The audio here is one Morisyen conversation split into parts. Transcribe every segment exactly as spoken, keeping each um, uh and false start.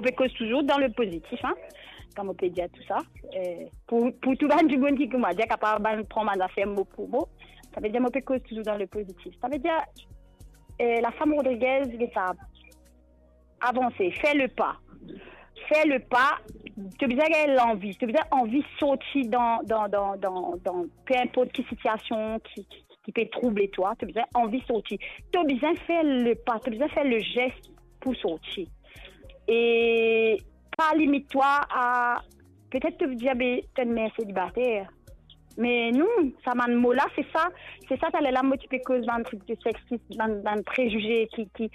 pe koz touzour dan le pozitif, hein, kan mo pe dir tou sa. Eh, pou, pou tou bann dimoun ki, kouma dir, kapav bann pran bann zafer mo pou mo, savedir mo pe koz touzour dan le pozitif. Savedir, eh, lafam Rodriguez, li sa avanse, fer le pa. Fer le pa, to bizin gagn lanvi, to bizin anvi sorti dan, dan, dan, dan, dan, pe inport ki sitiasion ki, ki, ki pe trouble twa, to bizin anvi sorti. To bizin fer le pa, to bizin fer le zes pou sorti. E pa limit twa a, petet to dir, be, to enn mer selibater. Me non, sa bann mo la, se sa, se sa, taler la, mo ti pe koz bann trik de sexisme, bann, bann prezize ki, ki,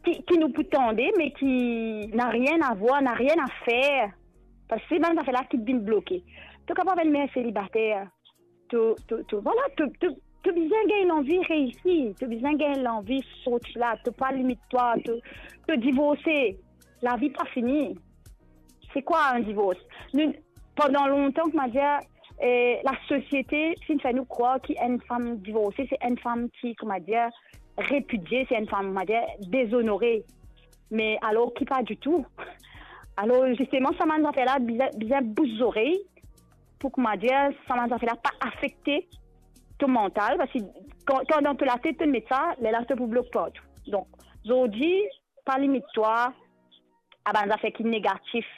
ki, ki nou pou tande, me ki na rien a voir, na rien a fer. Parski se bann zafer la ki vinn bloke. To kapav enn mer selibater, to, to, to, vwala, to, to, to bizin gagn lanvi reisi, to bizin gagn lanvi sorti la, to pa limit twa, to, to divorse, lavi pa fini. Se kwa enn divors? Nou, pandan lontan, kouma dir, eh, lasosiete finn fer nou krwar ki enn fam divorse, se enn fam ki, kouma dir, repidie, se enn fam, kouma dir, dezonore. Me alor ki pa ditou. Alor, zisteman, sa bann zafer la, bizin, bizin bous zorey, pou, kouma dir, sa bann zafer la pa afekte to mantal, parski kan, kan dan to latet to met sa, lerla to pou blok partou. Donk, zordi, pa limit twa a bann zafer ki negatif,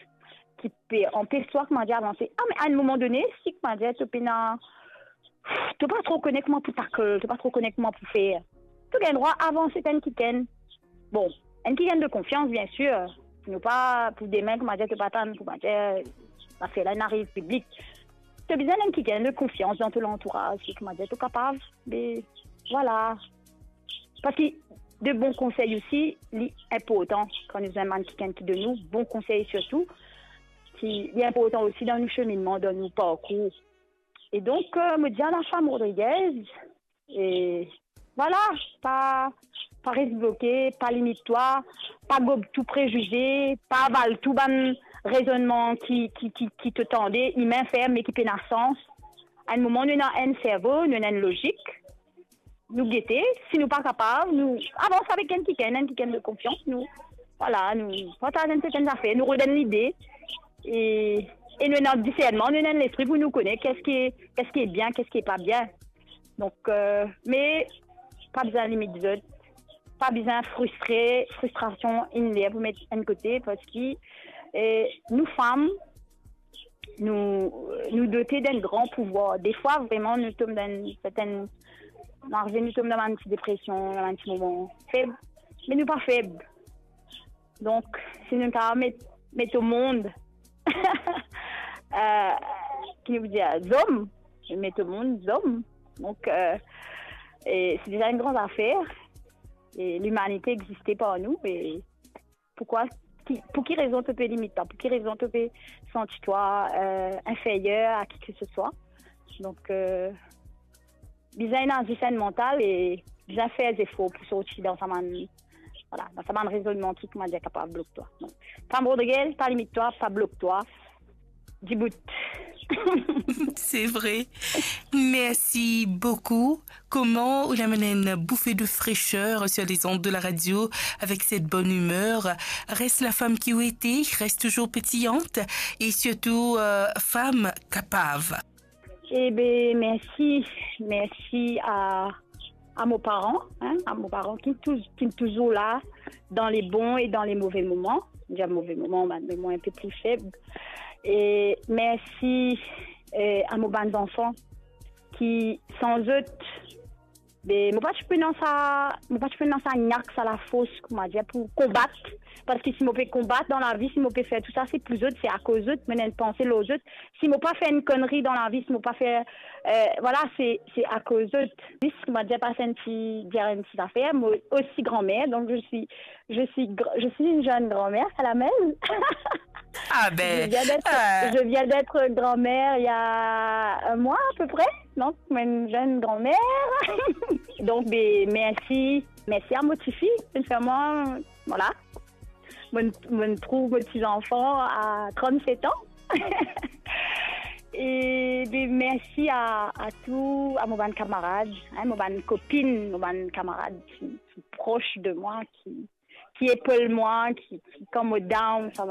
ki pe anpes twa, kouma dir, avanse. Ah, me a enn moman done, si, kouma dir, to pena, to pa tro kone kouma pou takl, to pa tro kone kouma pou fer, to gagn drwa avanse enn kikenn. Bon, enn kikenn de konfians, biensir. Nou pa pou demin, kouma dir, to pa tann, kouma dir, zafer la inn ariv piblik. To bizin enn kikenn de konfians dan to lantouraz, ki, kouma dir, to kapav, be, vwala. Parski de bon konsey osi, li inportan. Kan nou zwenn bann kikenn ki donn nou bon konsey sirtou, ki, li inportan osi dan nou seminnman, dan nou parkour. E donk, eh, mo dir a lafam Rodriguez, e vwala, pa, pa res bloke, pa limit twa, pa gob tou prezize, pa aval tou bann rezonnman ki, ki, ki, ki to tande, imin, fer, me ki pena sans. A enn moman, nou ena enn servo, nou ena enn lozik. Nou gete, si nou pa kapav, nou avans avek enn kikenn, enn kikenn de konfians, nou, vwala, nou partaz enn sertenn zafer, nou rod enn lide, e, e nou ena disernman, nou ena enn lespri pou nou kone keski, keski bien, keski pa bien. Donk, eh, me pa bizin limit zot, pa bizin fristre, fristrasion inn ler pou met enn kote, parski, eh, nou fam, nou, nou dote d'enn gran pouvwar. Defwa, vreman, nou tom dan enn sertenn, nou arive, nou tom dan bann ti depresion, dan bann ti moman feb, me nou pa feb. Donk, si nou kapav met, met omond, eh, ki nou pou dir, zom, met omond zom. Donk, eh, e se deza enn gran zafer. E limanite existe par nou, e poukwa, ki, pou ki rezon to pe limit twa? Pou ki rezon to pe santi twa, eh, inferyer a ki ke se swa? Donk, eh, bizin ena zis enn mantal e bizin fer zefor pou sorti dan sa bann, vwala, dan sa bann rezonnman ki, kouma dir, kapav blok twa. Donk, fam Rodriguez, pa limit twa, pa blok twa. Dibout. C'est vrai. Merci beaucoup. Kouma ou amenn enn bouffée de fraîcheur sur les ondes de la radio avec cette bonne humeur. Reste la femme qui ou ete, reste toujours pétillante et surtout, euh, femme capable. Eh ben, merci, merci à, à mes parents, hein, à mes parents qui tou-, qui sont toujours là dans les bons et dans les mauvais moments. Déjà mauvais moments, ben, mais moi un peu plus faible. Et merci, euh, à mes bons enfants qui, sans eux, be, mo pa ti pou ena sa, mo pa ti pou ena sa nyak, sa lafors, kouma dir, pou konbat. Parski si mo pe konbat dan lavi, si mo pe fer tou sa, se pou zot, se akoz zot, mo ena enn panse lor zot. Si mo pa fer enn konnri dan lavi, si mo pa fer, eh, vwala, se, se akoz zot. Zis, kouma dir, pas enn ti, dir enn ti zafer, mo osi granmer, donk je suis, je suis gr-, je suis une jeune grand-mère à la maison. Ah ben, je viens d'être, euh, je viens d'être grand-mère il y a un mois à peu près. Donc, une jeune grand-mère. Donc, ben, merci. Merci à mon petit-fils, sincèrement. Voilà. Mon, mon trouve mon petit-enfant à trente-sept ans. Et ben, merci à, à tous, à mon bande camarade, hein, mon bande copine, mon bande camarade qui, qui est proche de moi, qui, qui épaule moi, qui, qui, quand je suis down, ça va.